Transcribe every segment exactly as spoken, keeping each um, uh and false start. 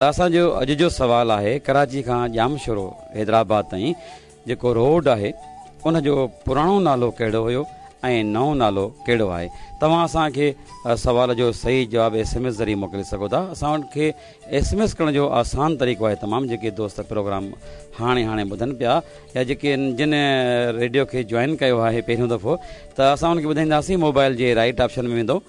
اسان جو اڄ جو سوال آهي، ڪراچي کان ڄامشورو حيدرآباد تائين جيڪو روڊ آهي ان جو پراڻو نالو ڪهڙو هيو ۽ نئون نالو ڪهڙو آهي؟ توهان اسان کي سوال جو صحيح جواب ايس ايم ايس ذريعي موڪلي سگهو ٿا. اسان کي ايس ايم ايس ڪرڻ جو آسان طريقو آهي. تمام جيڪي دوست پروگرام هاڻي هاڻي ٻڌن پيا يا جيڪي جن ريڊيو کي جوائن ڪيو آهي پهريون دفعو، ته اسان ان کي ٻڌائينداسين، موبائل جي رائٽ آپشن ۾ ويندو،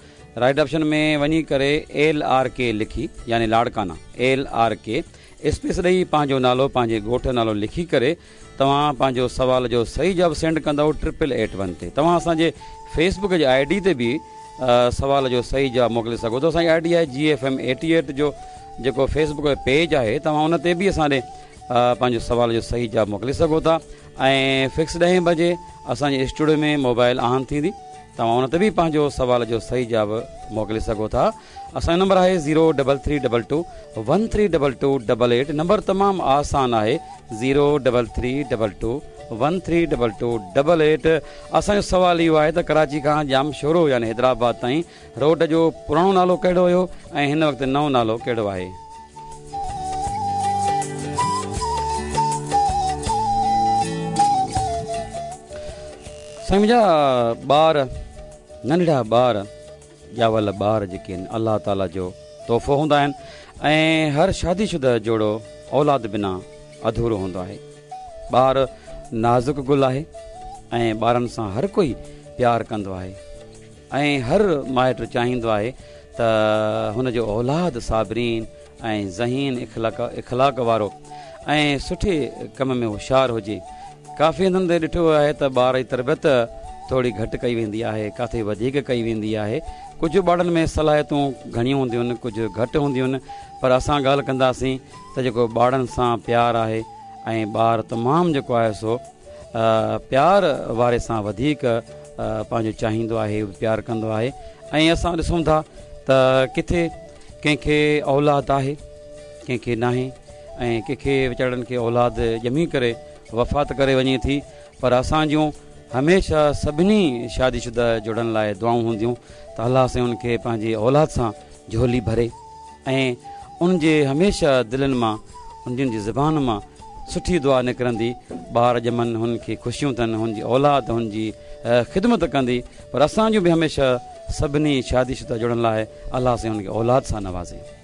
رائٽ آپشن ۾ وڃي ڪري ايل آر ڪي لکي، يعني Larkana, L R K space ڏئي پنهنجو نالو، پنهنجي ڳوٺ جو نالو لکي ڪري توهان پنهنجو سوال جو صحيح جواب سينڊ ڪندؤ ٽرپل ايٽ ون تي. توهان اسان جي فيس بڪ جي I D تي به سوال جو صحيح جواب موڪلي سگهو ٿو. اسان جي I D آهي جي ايف ايم ايٽي ايٽ جو جيڪو فيس بڪ جو پيج آهي، توهان ان تي به اسان ڏي پنهنجو سوال جو صحيح جواب موڪلي سگهو ٿا. ۽ فڪس ڏهين بجي اسان جي اسٽوڊيو ۾ موبائل آن ٿيندي، توهان ان تي به پنهنجو سوال جو صحيح جواب موڪلي سگهو ٿا. اسان جو نمبر آهي zero double three double two one three double two double eight. Number تمام آسان آهي، zero double three double two one three double two double eight. اسان جو سوال اهو آهي ته ڪراچي کان ڄامشورو يعني حيدرآباد تائين روڊ جو پراڻو نالو ڪهڙو هيو ۽ هن وقت نئون نالو ڪهڙو آهي؟ سائين منهنجا، ٻار، ننڍڙا ٻار، ڄاول ٻار جيڪي آهن، الله تعاليٰ جو تحفو هوندا آهن ۽ هر شادي شده جوڙو اولاد بنا اڌورو هوندو آهي. ٻار نازڪ گل آهي ۽ ٻارن سان هر ڪوئي پيار ڪندو آهي ۽ هر مائٽ چاهيندو آهي ته هن جو اولاد صابرين ۽ ذهين، اخلاق اخلاق وارو ۽ سٺي ڪم ۾ هوشيار هجي. ڪافي هنڌن تي ڏٺو ويو آهي ته ٻار جي تربيت ٿوري گهٽ ڪئي ويندي آهي، ڪاٿي وڌيڪ ڪئي ويندي آهي. ڪجهه ٻارن ۾ صلاحيتون گهڻيون هونديون آهن، ڪجهه گهٽ هونديون آهن، پر اسان ڳالهه ڪنداسين ته جيڪو ٻارن سان پيار آهي ۽ ٻار تمام جيڪو آهي سو پيار واري سان وڌيڪ پنهنجو چاهيندو آهي، پيار ڪندو آهي. ۽ اسان ڏسون ٿا ته ڪٿي ڪنهن کي اولاد آهي، ڪنهن کي ناهي، ۽ ڪنهن کي ويچارن کي اولاد ڄمي ڪري وفات ڪري وڃي ٿي، پر اسان جون هميشه سڀني شادي شده جوڙن لاء دعائون هونديون ته الله سائين ان کي پنهنجي اولاد سان جهولي ڀري ۽ ان جي هميشه دلن مان، انهن جي زبان مان سٺي دعا نڪرندي، ٻار ڄمن، هن کي خوشيون ٿين، هن جي اولاد هن جي خدمت ڪندي. پر اسان جون به هميشه سڀني شادي شده جوڙن لاء الله سائين هن کي اولاد سان نوازي.